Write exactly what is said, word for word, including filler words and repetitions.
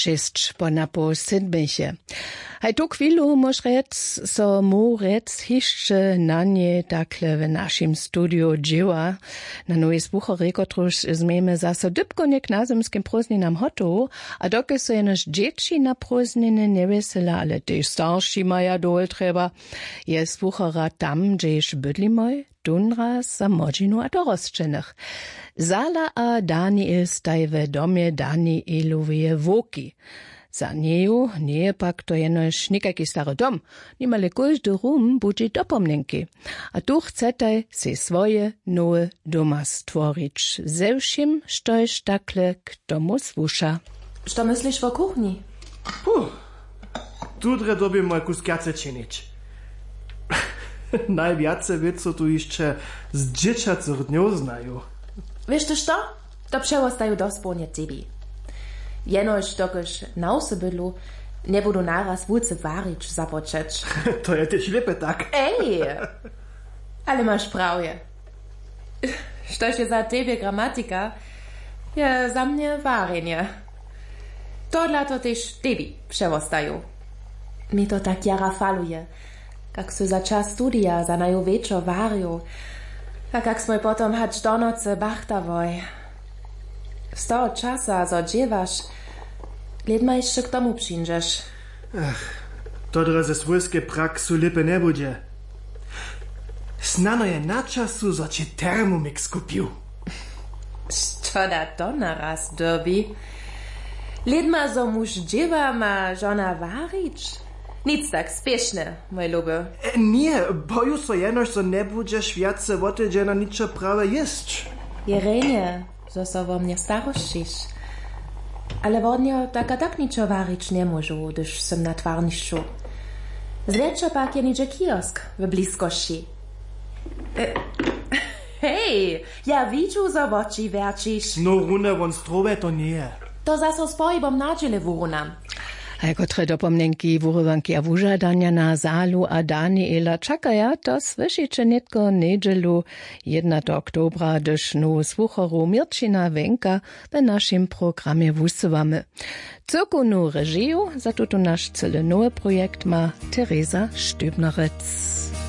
Šěsć po napoł sydmich je. Haj tu chwilu móž rjec, so móhł rjec hišće na njej takle w našim studiju dźěła. Na nowej słucharjej, kotruž změjemy zaso dypkownje k nazymskim prózdninam hotowu, a dokelž so jenož dźěći na prózdniny njewjesela, ale tež starši maja dołho trjeba, je słuchara tam, hdźež bydlimoj, tónraz za młodźinu a dorosćenych. Zala a Daniel staj w domje Danieloweje wowki. Za njeju njeje pak to jenož někajki stary dom, nimale kóždy rum budźi dopomnjenki. A tu chcetaj sej swoje nowe doma stworić ze wšěm, štož takle k tomu słuša. Što mysliš wo kuchnji? Puh, tu drje dyrbimoj kusk wjace činić. Najwjace wěc so tu hišće z dźěćacych dnjow znaju. Wěš ty što? To přewostaju dospołnje tebi. Jenož dokelž na wsy bydlu, njebudu naraz wulce warić započeć. To je tež lěpe tak. Ej, ale maš prawje. Štož je za tebje gramatika, je za mnje warjenje. Tohodla to tež tebi přewostaju. Mje to tak jara faluje, kak sy za čas studija za naju wječor warił, a kak smoj potom hač do nocy bachtałoj. Z toho časa zo dźěłaš, lědma hišće k tomu přińdźeš. Ach, to drje ze swójskej praksu lěpe njebudźe. Snano je na času, zo će Thermomix kupił. Što da to naraz dyrbi? Lědma zo muž dźěła, ma žona warić? Nic tak spěšne, mój luby. E, ně, boju so jenož, zo njebudźeš wjace wotydźena ničo prawje jěsć. Je rjenje, zo so wo mnje starosćiš. Ale wodnjo tak a tak ničo warić njemóžu, hdyž sym na twarnišću. Zwjetša pak je něhdźe kiosk w bliskosći. E, hej, ja widźu, zo woči wjerćiš. No, runje won strowe to njeje. To zaso z pohibom na dźěle wurunam. A jako trje dopomnjenki, wurywanki a wužadanja na Zalu a Daniela čakaja, to słyšiće nětko njedźelu, jednateho oktobra, hdyž nowu słucharu Měrćina Wenka w našim programje wusyłamy. Cyrkownu režiju za tutu naš cyle nowy projekt ma Teresa Stübnerec.